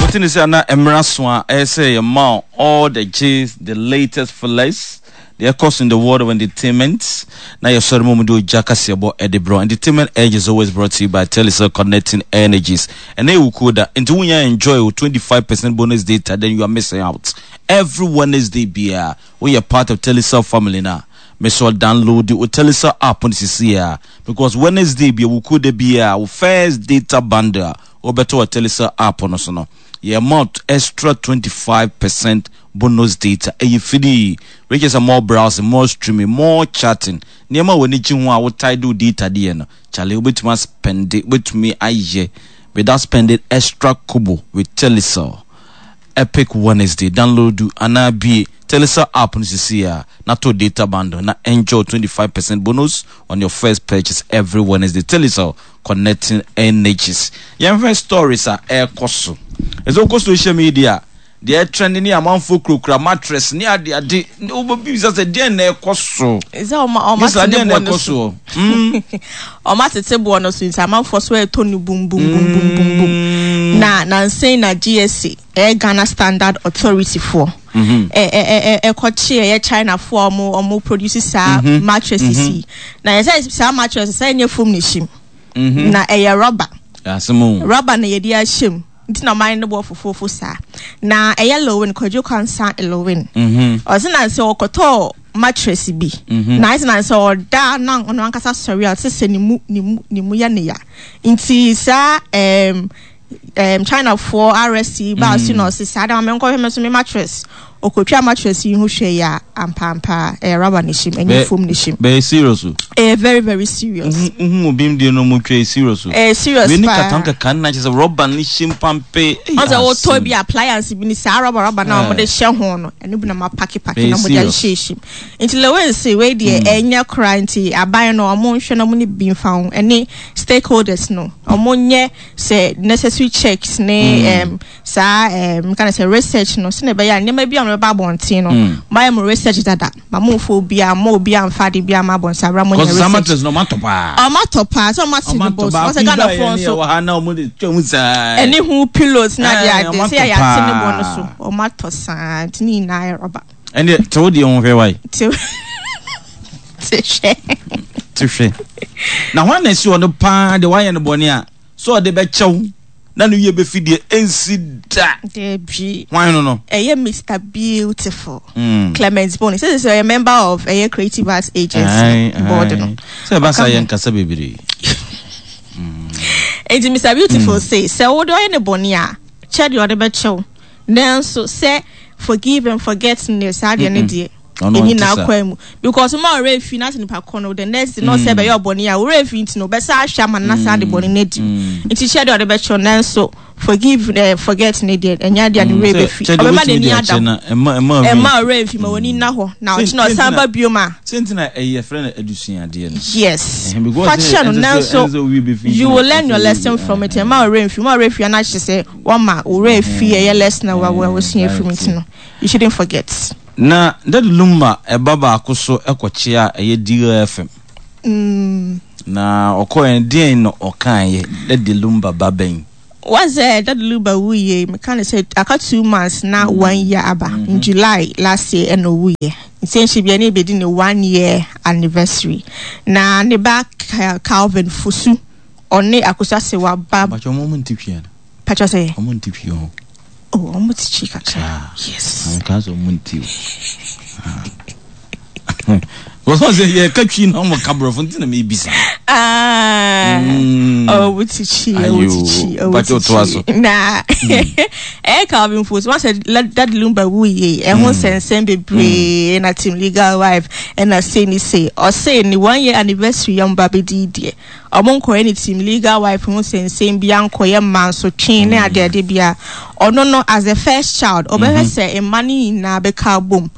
Wote ne sɛ na mmara so a ɛyɛ sɛ yɛma all the gist, the latest fillers, deɛ ɛkɔ so in the world of entertainment na yɛsɔre mu de ogya kaseɛbɔ ɛde brɛ. Entertainment Edge is always brought to you by Telecel Connecting Energies. Ɛnɛ yɛ wukuo da, nti wonya enjoy wo 25% bonus data, then you are missing out. Every Wednesday biara woyɛ part of Telecel family no a, mesɛ download wo Telecel app no sisi a, because Wednesday bia wukuo da biara wo first data bundle a wobɛtɔ wɔ Telecel app no so no, yɛma extra 25% bonus data. Ɛyɛ free. Wei kyerɛ sɛ more browsing, more streaming, more chatting. Nneɛma a w'ani gye ho a wotae de wo data de yɛ no, kyale wobɛtumi aspɛnde, wobɛtumi ayɛ without spending extra kobo with Telecel. Epic Wednesday, download anaa bie Telecel app no sisi a na to data bundle na enjoy 25% bonus on your first purchase every Wednesday. Telecel, connecting energies. Yɛnhwɛ stories a ɛrekɔ so. Ɛsɛ wokɔ social media deɛ ɛtrend ne amanfoɔ kurakura mattress ne ade ade, wobɛbisa sɛ deɛn na ɛkɔ so? Sɛ ɔma ɔma Bisa tete deɛn na boɔ no ɛkɔ so. soɔ? Ɔma tete boɔ no so nti amanfoɔ so ɛtɔ no bum bum bum bum bum bum. Na nansen na GSA, ɛyɛ Ghana Standard Authority foɔ, ɛ ɛ ɛ ɛkɔkye ɛyɛ China foɔ a ɔmo produce saa mattresses yi. Na yɛ sɛ saa mattress sɛ ɛnyɛ foam na ɛhyɛ mu. Na ɛyɛ rubber. Asɛm o. Rubber na yɛde ahyɛ mu. Nti na ɔman no bɔ fofofo saa. Na ɛyɛ Lilwin, Kwadwo Quansah Lilwin. Ɔse na sɛ ɔkɔtɔɔ mattress bi. Na ayɛ sɛ na sɛ ɔda na ɔno ankasa sɔre a, ɔte sɛ ne mu ne mu ne mu yɛ ne ya. Nti saa Chinafoɔ arrest yi baa so na ɔse saa da ma menkɔhwɛ me so me mattress. Ɔkɔtwa mattress yi ho hwɛ yi a, ampaampa ɛyɛ rubber na ɛhyɛ mu, ɛnyɛ foam na ɛhyɛ mu. Bɛyɛ serious o. Ɛyɛ very very serious. Wohu obi deɛ no ɔmo twa yɛ serious o. Ɛyɛ serious Wei ne paa. katan kaka na kyerɛ sɛ rubber ne hyɛ mu pampe. Ei, Ɔsɛ wotɔ asɛm. bi appliance bi ne saa rubber rubber na Eh. wɔde hyɛ ho no, ɛno bi na ma paki paki Ɛyɛ na wɔde serious. ahyehyɛ mu. Nti Lewin se wei deɛ ɛnyɛ koraa, nti aban no ɔmo nhwɛ na ɔmo ne bi mfa ho, ɛne stakeholders no ɔmo nyɛ sɛ necessary checks ne saa nka ne sɛ research no, sɛnea ɛbɛyɛ a nneɛma bi a wɔbɛba abɔnten no, moayɛ mo research dada, ma mo mfa obiara ma obiara mfa ade biara ma abɔnten abira mo nyɛ Kɔsɛ saa research. mattress no ɔmo atɔ paa. Ɔmo atɔ paa sɛ ɔmo ate ne Ɔmo atɔ bɔ so baako ɔsɛ yi Ghana ba foɔ yɛ ne nso yɛ wɔ ha na ɔmo de twɛ mu saa. Ɛne ho pillows na ade ade ɔmo sɛ atɔ yɛ ate ne bɔ no paa. so ɔmo atɔ saa, nti ne nyinaa yɛ rɔba. Ɛndeɛ te wo deɛ ho hwɛ wae. Te te hwɛ. Te hwɛ. Na hwan na ɛsi ɔno paa deɛ wayɛ no bɔne a sɛ ɔde bɛkyɛw na ne wie bɛfi deɛ ɛnsi da? Dabi. Hwan no no? Ɛyɛ Mr Beautiful. Clement Bone. Sɛ sɛ ɔyɛ member of ɛyɛ Creative Arts Agency board no. Sɛ ɛba saa yɛ nkasa bebree. Enti Mr Beautiful say sɛ wode ɔyɛ ne bɔne a, kyɛ deɛ ɔde bɛkyɛw. Nanso sɛ forgive and forget ne saa deɛ ne deɛ Ɔno ɛni ɔnte na saa. akwan mu, because ma ɔwerɛ fi na sɛ nipa kɔ no the next day na ɔsɛ bɛyɛ ɔbɔne a ɔwerɛ fi nti no ɔbɛsa ahwɛ ama no na saa de bɔne no adi. Nti kyɛ deɛ ɔde bɛkyɛw, nanso forgive forget ne deɛ ɛnyɛ adeɛ a ne werɛ bɛfi. Kyɛ deɛ Ɔbɛma wobɛtumi n'ani de ada akyɛ hɔ. na ɛma ɛma ɔwerɛ Ɛma ɔwerɛ fi ma w'ani nna hɔ na ɔkyena ɔsan ba bio ma. Sɛ nti na ɛyɛ frɛ no adusuadeɛ no. Yes. Ɛhɛn, because Fa kyɛ no ɛnsɛ sɛ nanso ɛnsɛ sɛ owie bɛfi nti you na will learn your afei lesson from it. Ɛma ɔwerɛ mfi ma ɔwerɛ fi ana kyerɛ sɛ wɔma ɔwerɛ fi ɛyɛ lesson a wasua afiri mu nti no you shouldn't forget. Na Daddy Lumba ɛba baako so ɛkɔkyea a ɛyɛ Deal FM. Na ɔkɔɛ no deɛn na ɔkaeɛ? Daddy Lumba ba bɛn? Wɔsɛ Daddy Lumba wuiɛ, meka ne sɛ aka 2 months na one year aba. In July last year ɛna owuiɛ. Nti ɛnhyɛ bia ne ebedi ne one year anniversary. Na ne ba Calvin Fosu, ɔne Akosua Serwaa ba. Mpakyɛ ɔmo nte twi ana? Pakyɛ sɛ? Ɔmo nte twi ho. Oh, ɔmo te twi kakra. Yes. Nka sɛ ɔmo nte o. Wɔsɔ sɛ yɛka twi na ɔmo ka borɔfo nti na mebisa. Ah, ɔmo te twi, ɔmo te twi, ɔmo Mpakyɛ te ɔtoa so. twi. Na ɛyɛ Calvin Fosu, wɔn sɛ Daddy Lumba wuiɛ, ɛho nsɛnsɛm bebree na team legal wife ɛna sei ne sei. Ɔse ne one year anniversary yɛ ɔmo ba bɛdi deɛ, ɔmo nkɔyɛ ne team legal wife ho nsɛnsɛm bi ankɔyɛ mansotwe ne adeade bia. Ɔno no as the first child ɔbɛhwɛ sɛ mma no nyinaa bɛka abom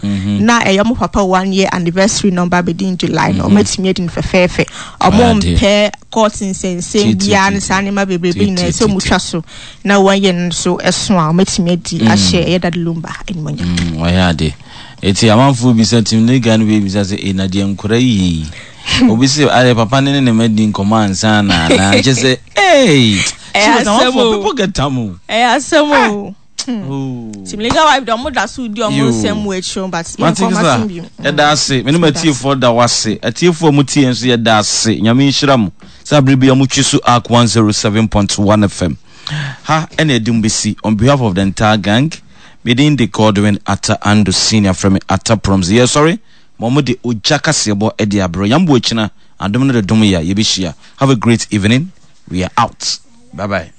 na ɛyɛ ɔmo papa one year anniversary na ɔmo ba bɛdi in July no, ɔmo atumi adi no fɛfɛɛfɛ. Ɔmo mpɛ court nsɛnsɛm biara ne saa nneɛma bebrebe nyinaa sɛ ɔmo twa so na one year no nso ɛso a ɔmo atumi adi ahyɛ ɛyɛ Daddy Lumba animuonyam. Wɔyɛ ade. Eti amanfoɔ bisa team legal no bi bisa sɛ e na deɛ nkora yie yi. Obi sɛ ayɛ papa ne ne ne ma di nkɔmɔ ansa na anaa kyɛ sɛ ee. Ɛyɛ asɛm o. People get am o. Ɛyɛ asɛm o. Oh. Team Legal Wife de ɔmo da so di ɔmo nsɛm mu akyire but yɛn Mate kɔn kisa, ma bi. yɛda ase. Me ne m'atiefoɔ da wo ase. Atiefoɔ a motie nso yɛda ase. Nyame nhyira mo. Sɛ abere bi a motwe so Ark 107.1 FM. Ha ɛna ɛde mo bɛsi. On behalf of the entire gang, me din de Godwin Atta Ando Senior, frɛ me Atta Promz. Yɛsɔre ma wɔn de ogya kaseɛbɔ de abrɛ. Yɛn bo akyina, adom no de dom yɛ a, yɛbɛhyia. Have a great evening. We are out. Bye bye.